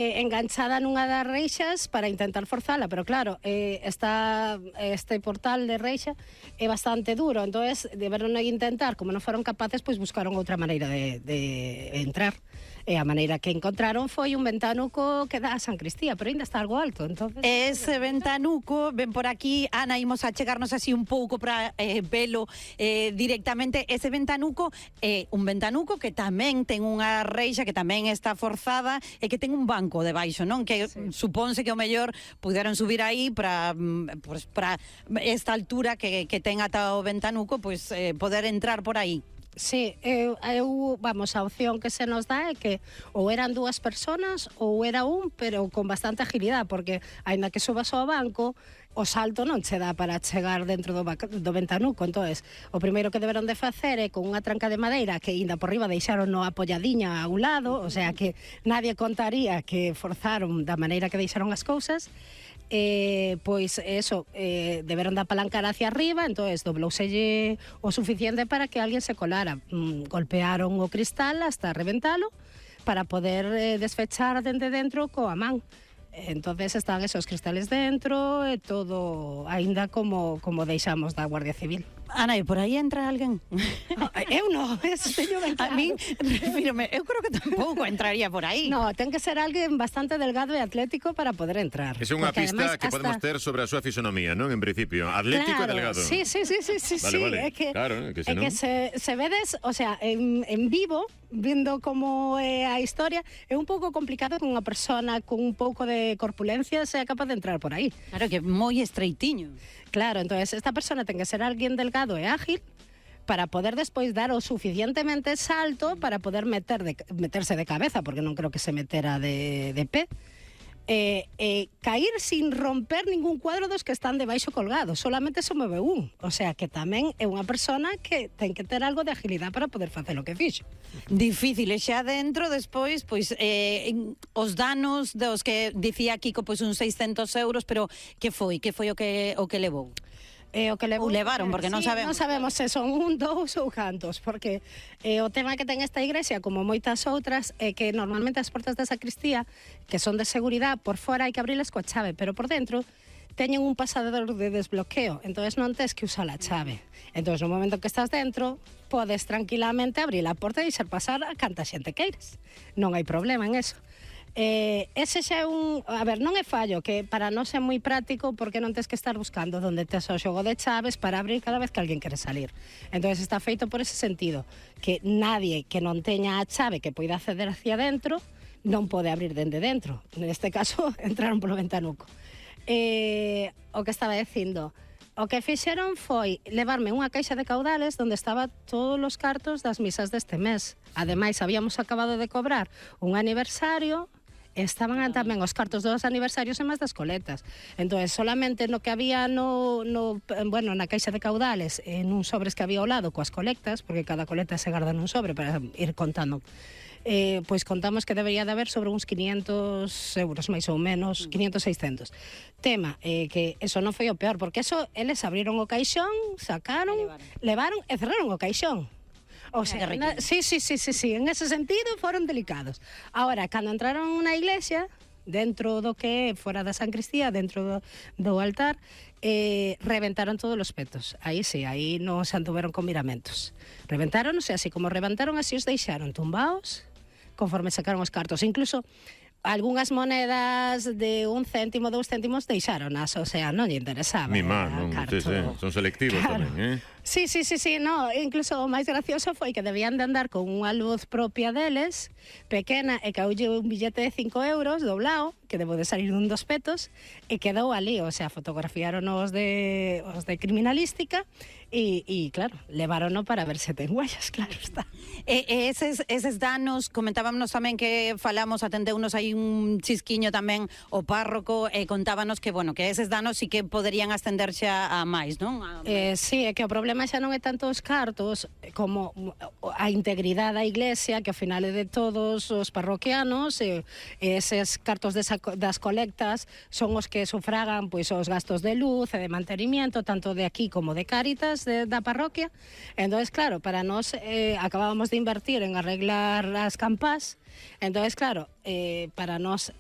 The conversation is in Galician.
enganchada nunha das reixas para intentar forzala, pero claro, este portal de reixa é bastante duro, entonces deberon intentar, como non foron capaces, pois buscaron outra maneira de entrar. E a maneira que encontraron foi un ventanuco que dá a San Cristía, pero ainda está algo alto, entonces... Ese ventanuco, ven por aquí, Ana, imos a chegarnos así un pouco para velo directamente. Ese ventanuco é un ventanuco que tamén ten unha reixa, que tamén está forzada e que ten un banco debaixo, non? Que supónse que o mellor puderon subir aí para esta altura que ten ata o ventanuco, pois poder entrar por aí. Sí, vamos, a opción que se nos dá é que ou eran dúas personas ou era un, pero con bastante agilidade, porque aínda que subas ao banco, o salto non che dá para chegar dentro do ventanuco. Entonces, o primeiro que deberon de facer é con unha tranca de madeira que ainda por riba deixaron no apoiadiña a un lado, o sea que nadie contaría que forzaron da maneira que deixaron as cousas. Pois eso, deberon de apalancar hacia arriba, entonces doblouselle o suficiente para que alguén se colara. Golpearon o cristal hasta reventalo para poder desfechar dende dentro coa man. Entonces están esos cristales dentro e todo aínda como deixamos da Guardia Civil. Ana, e por aí entra alguén? Eu non, eso teño ben claro. A min, refírome, eu creo que tampouco entraría por aí. No, ten que ser alguén bastante delgado e atlético para poder entrar. Esa é unha pista que podemos ter sobre a súa fisonomía, non? En principio, atlético e delgado. Sí. Vale. É que, claro, que senón... que se vedes, o sea, en vivo, vendo como é a historia, é un pouco complicado que unha persona con un pouco de corpulencia sea capaz de entrar por aí. Claro, que é moi estreitiño. Claro, entonces esta persona ten que ser alguén delgado e ágil para poder despois dar o suficientemente salto para poder meterse de cabeza, porque non creo que se metera de pé. Cair sin romper ningún cuadro dos que están debaixo colgados, solamente se move un, o sea que tamén é unha persona que ten que ter algo de agilidade para poder facer o que fixo. Difícil, e xa dentro despois, pois os danos dos que dicía Kiko, pois uns 600 euros, pero que foi o que levou? O que levaron, porque non sabemos. Non sabemos se son un, dous ou cantos, porque o tema que ten esta igrexa, como moitas outras, é que normalmente as portas da sacristía, que son de seguridade, por fora hai que abrilas coa chave, pero por dentro teñen un pasador de desbloqueo, entonces non tes que usar a chave. Entonces, no momento que estás dentro, podes tranquilamente abrir a porta e deixar pasar a canta xente queires. Non hai problema en eso. Ese xa é un... A ver, non é fallo, que para non ser moi práctico, porque non tes que estar buscando onde tes o xogo de chaves para abrir cada vez que alguén quere salir. Entonces está feito por ese sentido, que nadie que non teña a chave que poida acceder hacia dentro non pode abrir dende dentro. Neste caso, entraron polo ventanuco. O que estaba dicindo... O que fixeron foi levarme unha caixa de caudales onde estaba todos os cartos das misas deste mes. Ademais, habíamos acabado de cobrar un aniversario, estaban tamén os cartos dos aniversarios e máis das coletas. Entón, solamente no que había na caixa de caudales, en un sobres que había ao lado coas colectas, porque cada coleta se garda nun sobre para ir contando, pois contamos que debería de haber sobre uns 500 euros, máis ou menos, 500, 600. Tema, que eso non foi o peor, porque eso, eles abriron o caixón, sacaron, levaron e cerraron o caixón. O sea, sí, en ese sentido foron delicados. Ahora, cando entraron na iglesia, dentro do que fora da San Cristía, dentro do altar, reventaron todos os petos. Aí sí, aí non se anduveron con miramentos. Reventaron, o sea, así como reventaron, así os deixaron tumbaos, conforme sacaron os cartos. Incluso algunhas monedas de 1 céntimo, 2 céntimos deixaronas, o sea, non lle interesaba. Mi má, non, son selectivos tamén, Sí, no, incluso o máis gracioso foi que debían de andar con unha luz propia deles, pequena, e caulle un billete de 5 euros doblado, que debo de salir dun dos petos, e quedou ali, o sea, fotografiaron os de criminalística, e claro, levárono para ver se ten huellas, claro está. Eses danos, comentábamos tamén que falamos, atendeunos aí un chisquiño tamén o párroco, e contábanos que, bueno, que eses danos sí que poderían ascender xa a máis, non? Sí, é que o problema xa non é tanto os cartos como a integridade da iglesia, que ao final é de todos os parroquianos, e eses cartos das colectas son os que sufragan pois os gastos de luz e de mantenimiento, tanto de aquí como de Cáritas, persoas da parroquia. Entonces, claro, para nós acabábamos de invertir en arreglar as campás. Entonces, claro, para nós